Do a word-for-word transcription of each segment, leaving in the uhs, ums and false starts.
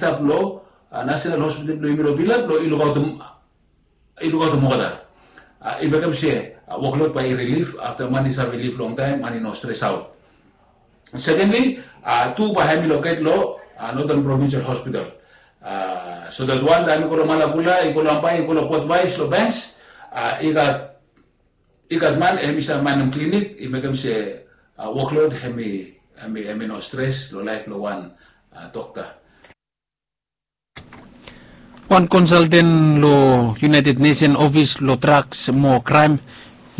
stap long National Hospital blong yumi long Vila blong i lukaotem olgeta. I mekem se woklod bae i rilif afta man i save lif longtaem, man i no stres aot. Sekendli, tu bae hem i loket long Northern Provincial Hospital, so dat wan taem i go long Malakula, i go long Ambae, i go long Port Vais, long Banks, i gat i gat man hem i save manem klinik, i mekem se woklod hem i hem i no stres long laef blong wan dokta. Wan konsalten long United Nation Ofis blong Draks mo Kraem,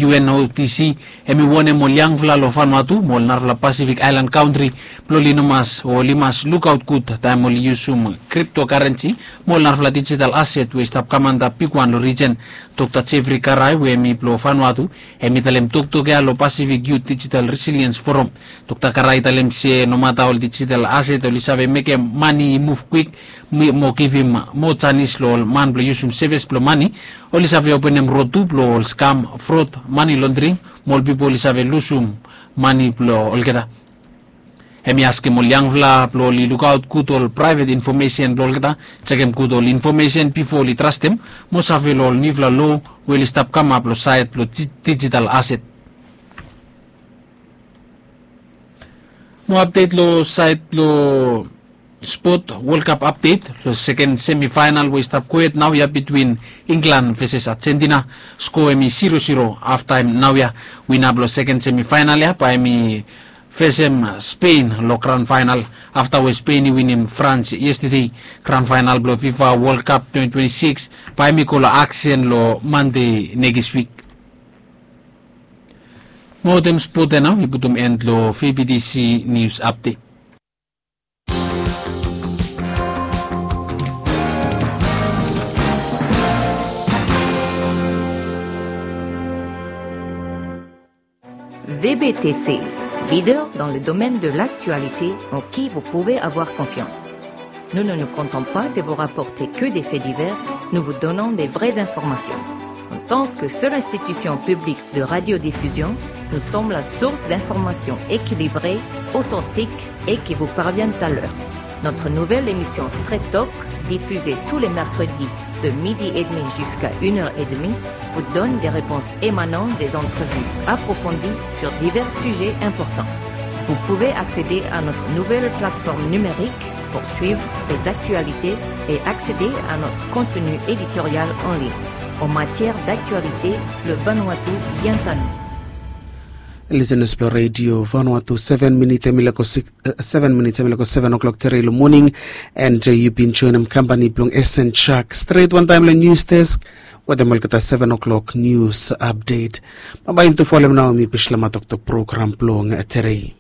U N O D C, hem i wonem ol yangfala long Vanuatu mo ol narafala Pasifik aelan kantri blong oli no mas o oli mas lukaot gud taem oli yusum kriptokarensi mo ol narafala dijital aset we i stap kam antap bigwan long rijen. Dokta Jeffrey Karai we hem i blong Vanuatu, hem i talem toktok ya long Pasifik Yut Dijital Resiliens Foram. Dokta Karai i talem se nomata ol dijital aset oli save mekem mane i muv kwik mo givim moa janis long ol man blong yusum sevis blong mane, oli save openem rod tu blong ol skam, frod, mane londring, mo ol pipol oli save lusum mane blong olgeta. Hem i askem ol yangfala blong oli lukaot gud ol praevet infomesen blong olgeta, jekem gud ol infomesen bifo oli trastem, mo save long ol niufala loa we oli stap kamap long saed blong dijital aset. Mo apdet long saed blong spot, World Cup apdet long seken semifaenal we i stap gohed naoia bitwin Inglan veses Ajentina. Skoa hem i siro siro. Afta hem naoia wina blong seken semifaenal ya bae hem i fesem Spen long gran faenal. Afta we Spen i winim Frans yestade, gran faenal blong Fifa World Cup twenty twenty-six bae hem i go long aksen long Mande nekis wik. Mo wetem spot ya nao i putum en long V B T C nius apdet. V B T C, leader dans le domaine de l'actualité en qui vous pouvez avoir confiance. Nous ne nous contentons pas de vous rapporter que des faits divers, nous vous donnons des vraies informations. En tant que seule institution publique de radiodiffusion, nous sommes la source d'informations équilibrées, authentiques et qui vous parviennent à l'heure. Notre nouvelle émission Straight Talk, diffusée tous les mercredis de midi et demi jusqu'à une heure et demie, vous donne des réponses émanant des entrevues approfondies sur divers sujets importants. Vous pouvez accéder à notre nouvelle plateforme numérique pour suivre les actualités et accéder à notre contenu éditorial en ligne. En matière d'actualité, le Vanuatu vient à nous. Listeners blong Radio Vanuatu, seven minit hem i leko six, seven minit hem i leko seven o'clock tere long moning. And yu bin joenem kampani blong S N Chuck stret wantaem long news desk wetem olgeta seven o'clock news update. Bambae yumi tu folem nao mi Bislama toktok program blong tere.